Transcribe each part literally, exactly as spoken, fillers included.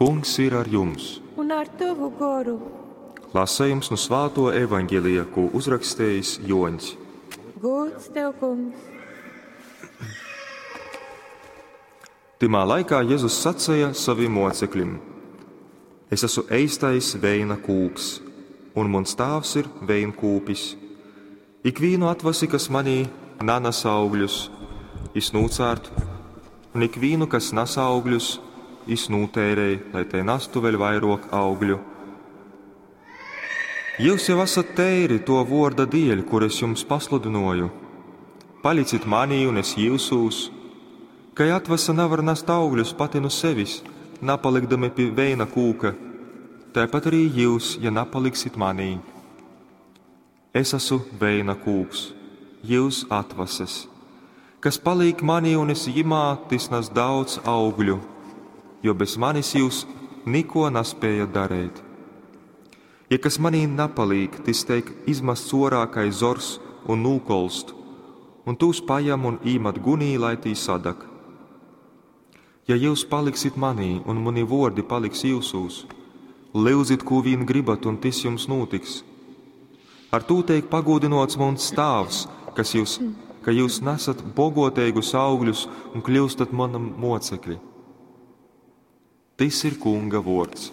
Kungs ir ar jums! Un ar tovu goru. Lasējums nu svāto evaņģelija, ko uzrakstījis Joņs. Gods tev, kungs! Tymā laikā Jēzus sacīja saviem mocekļiem: Es esmu eistais veina kūks, un mans tēvs ir veinkūpis. Ikvīnu atvasi, kas manī nanas augļus, es nūcārt, un ikvīnu, kas nes augļus, es nūtērēju, lai te nastu vēl vairāk augļu. Jūs jau esat teiri to vorda dieļ, kur es jums pasludinoju. Palicit manī un es jūsūs, kai atvasa nevar nest augļus pati no sevis, napalikdami pie veina kūka, tāpat arī jūs, ja napaliksit manī. Es esmu veina kūks, jūs atvases. Kas paliek manī un es jimā, tis nes daudz augļu, jo bez manis jūs niko nespējat darīt. Ja kas manī napaliek, tis teik izmests orā kai zors un nūkolst, un tūs pajam un īmat gunī, lai tī sadak. Ja jūs paliksit manī un mani vordi paliks jūsūs, lyudzit, ko vien gribat, un tis jums notiks. Ar tū teik pagodinots muns tāvs, kas jūs, ka jūs nesat bogoteigus augļus un kļūstat manam mocekļi. Tis ir Kunga vords.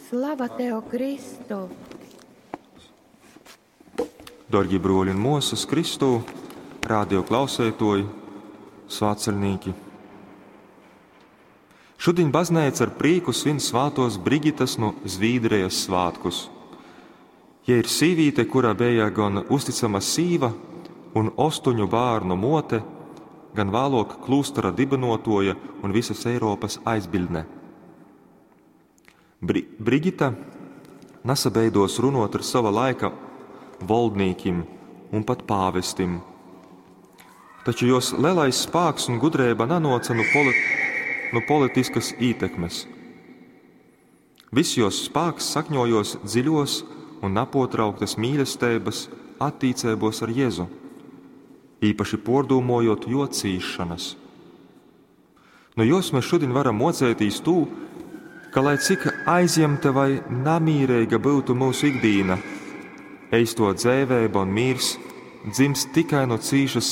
Slava tev, Kristu! Dorgi broļi un mosas Kristū, radio klausētoji, svātceļnīki. Šodien baznīca ar prieku svin svātos Brigitas no Zvīdrijas svētkus. Ja ir sīvīte, kura bija gan uzticama sīva un ostoņu bērnu mote, gan vēlāk klūstera dibinotoja un visas Eiropas aizbildne. Bri Brigita nesabeidos runot ar sava laika valdnīkim un pat pāvestim. Taču jos lielais spāks un gudrība nanoca no, poli no politiskas ietekmes. Viss jos spāks sakņojos dziļos un napotrauktas mīlestības attīcībos ar Jēzu, īpaši pordūmojot jo cīšanas. No jos mēs šodien varam mocētīs tū, ka lai cik aizņemta vai namīrīga būtu mūsu ikdīna, eisto dzēvēba un mīrs dzimst tikai no cīšas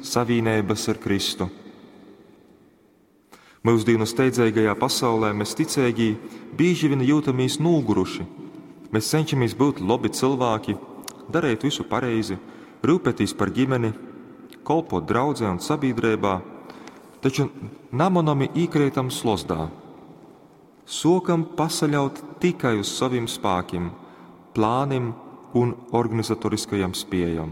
savīnības ar Kristu. Mūsdienu steidzīgajā pasaulē mēs ticīgi bieži vien jūtamies noguruši. Mēs cenšamies būt labi cilvēki, darīt visu pareizi, rūpēties par ģimeni, kolpot draudzē un sabiedrībā, taču namonami īkrītam slozdā. Sokam pasaļaut tikai uz saviem spēkiem, plāniem un organizatoriskajam spējam.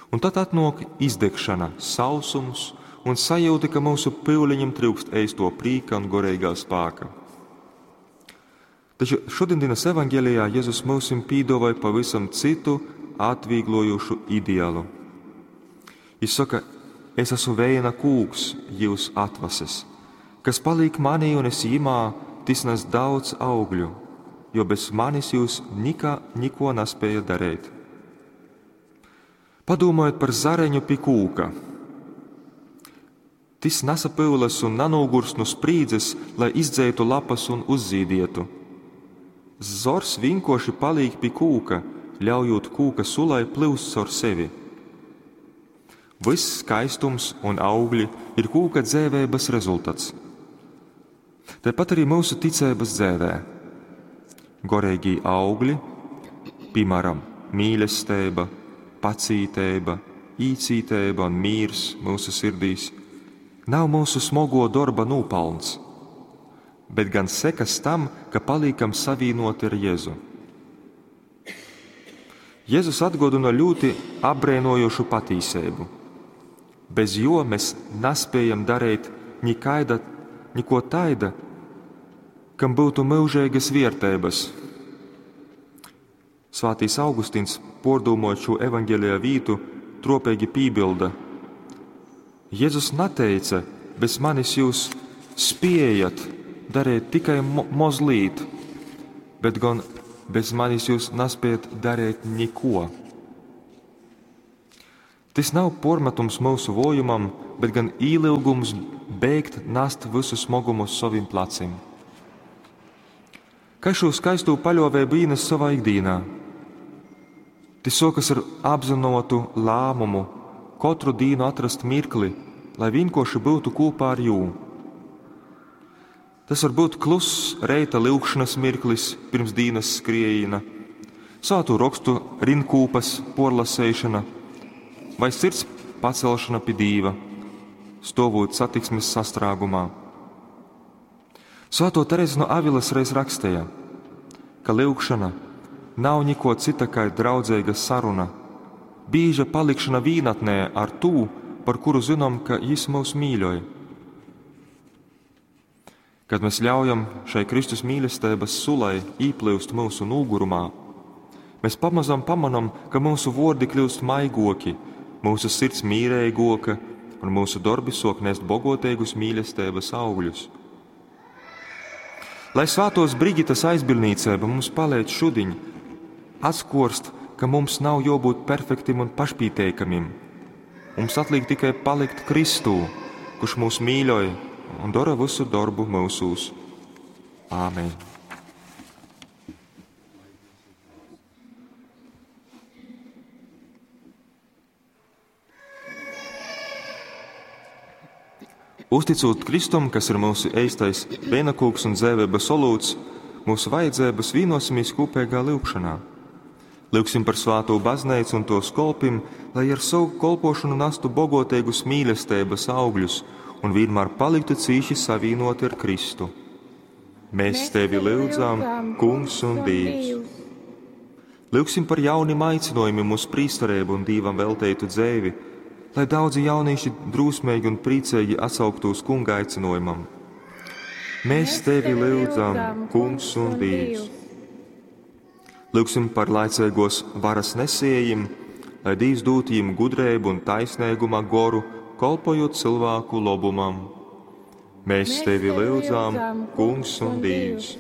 Un tad atnāk izdegšana, sausums un sajūta, ka mūsu pyuliņam trūkst eisto prīka un gorīgā spēka. Taču šodienas evaņģēlijā Jēzus mūsim pīdovāja pavisam citu atvieglojošu ideālu. Viņš saka, es esmu veina kūks, jūs atvases, kas paliek manī un es jimā, tis nes daudz augļu, jo bez manis jūs nikā, niko nespējat darīt. Padomājiet par zareņu pie kūka. Tis nesapyulas un nanogurs no sprīdzes, lai izdzētu lapas un uzzīdietu. Zors vienkārši paliek pie kūka, ļaujot kūka sulai plūst caur sevi. Viss skaistums un augļi ir kūka dzēvēbas rezultāts. Tāpat arī mūsu ticības dzēvē. Gorīgi augļi, piemēram, mīlestība, pacītība, īcītība un mīrs mūsu sirdīs, nav mūsu smogo darba nopelns, bet gan sekas tam, ka paliekam savīnoti ar Jēzu. Jēzus atgodina ļoti apbrēnojošu patīsību. Bez jo mēs nespējam darīt nikaida, niko taida, kam būtu mūžīgas vērtības. Svētīs Augustīns, pordūmojot šo evaņģēlijā vītu, tropīgi piebilda: Jēzus neteica, bez manis jūs spējat darīt tikai mo mozlīt, bet gan bez manis jūs nespējat darīt neko. Tas nav pormetums mūsu vojumam, bet gan īlilgums beigt nast visu smogumu uz saviem pleciem. Kai šo skaistū paļuoveibu īnest sovā ikdīnā? Tys suokas ar apzynuotu lāmumu kotru dīnu atrast mirkli, lai vienkārši būtu kūpā ar jū. Tas var būt kluss reita lyugšanas mirklis pirms dīnas skriejīna, svātū rokstu rinkūpas porlaseišana vai sirds pacelšana pi Dīva, stovūt satiksmes sastrāgumā. Svēto Terezi no Avilas reiz rakstīja, ka lyugšana nav niko cita kā draudzeiga saruna, bīža palikšana vīnatnē ar tū, par kuru zinām, ka jis mūs mīļoj. Kad mēs ļaujam šai Kristus mīlestības sulai īplūst mūsu nūgurumā, mēs pamazam pamanam, ka mūsu vordi kļūst maigoki, mūsu sirds mīreigoka un mūsu darbi sok nest bogoteigus mīlestības augļus. Lai svātos Brigitas aizbildnīcība mums palīdz šudiņ atskorst, ka mums nav jābūt perfektim un pašpīteikamim. Mums atliek tikai palikt Kristū, kurš mūs mīļoj un dara visu darbu mūsūs. Āmen! Uzticot Kristum, kas ir mūsu eistais veinakūks un dzēvības olūts, mūsu vajadzības vīnosimies kopīgā lyugšanā. Lūgsim par svāto baznīcu un tos kolpim, lai ar savu kolpošanu nastu bogoteigus mīlestības augļus un vienmēr paliktu cīši savīnoti ar Kristu. Mēs tevi lūdzam, Kungs un Dievs. Lūgsim par jaunim aicinojumiem uz prīsterību un Dievam velteitu dzēvi, lai daudzi jaunieši drūsmīgi un priecīgi atsauktos Kunga aicinojumam. Mēs tevi lūdzam, Kungs un Dievs. Lūgsim par laicīgos varas nesējiem, lai Dievs dūtu jiem gudrību un taisnīguma goru, kolpojot cilvēku lobumam. Mēs tevi lūdzam, Kungs un Dievs.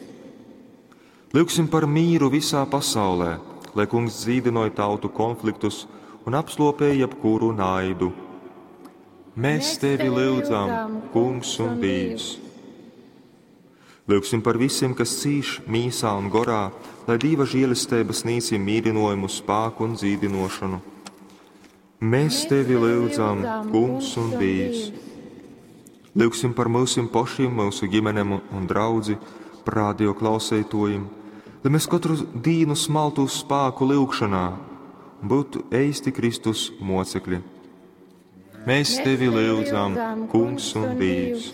Lūgsim par mīru visā pasaulē, lai Kungs dzīdinoja tautu konfliktus un apslopēja jebkuru naidu. Mēs tevi lūdzam, Kungs un Dievs. Lūgsim par visiem, kas cīš mīsā un gorā, lai Dieva žēlestība sniedz jiem mīlinojumu, spēku un dzīdinošanu. Mēs tevi lūdzam, Kungs un Dievs. Lūgsim par mūsim pašiem, mūsu ģimenēm un draudzi, par radio klausētojiem, lai mēs katru dīnu smaltu spēku lūgšanā un būtu eisti Kristus mocekļi. Mēs tevi lūdzam, Kungs un Dievs.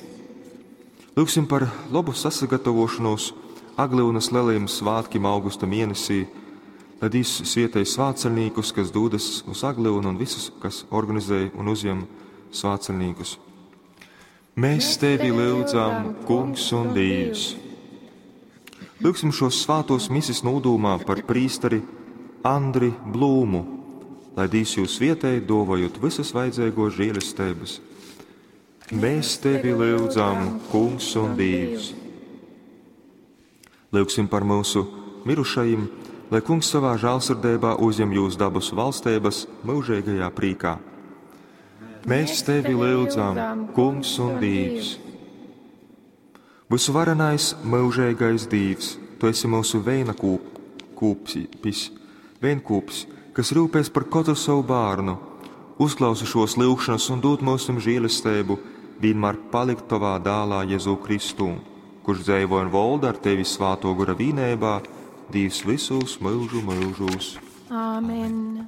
Lūgsim par labu sasagatavošanos Aglyunas lielajiem svētkiem augusta mēnesī, lai Dievs svietēj svētceļniekus, kas dodas uz Aglyunu un visus, kas organizē un uzņem svētceļniekus. Mēs tevi lūdzam, Kungs un Dievs. Lūgsim šos svētos misis nūdūmā par prīsteri Andri Blūmu, lai Dievs jūs svietēj, dovojot visas vajadzīgos žēlestības. Mēs tevi lūdzam, Kungs un Dievs. Lūgsim par mūsu mirušajiem, lai Kungs savā žēlsirdībā uzņem jūs dabas valstības mūžīgajā prīkā. Mēs tevi lūdzam, Kungs un Dievs. Visuvarenais mūžīgais Dievs, tu esi mūsu veina kūp, kūpis, veinkūpis, kas rūpēs par katru savu bērnu. Uzklausi šos lūgšanas un dod mums žēlastību, vienmēr palikt tavā dālā Jēzu Kristū, kurš dzēvo un valda ar tevi svāto gora vīnībā, Dievs visus mūžu mūžos. Āmen.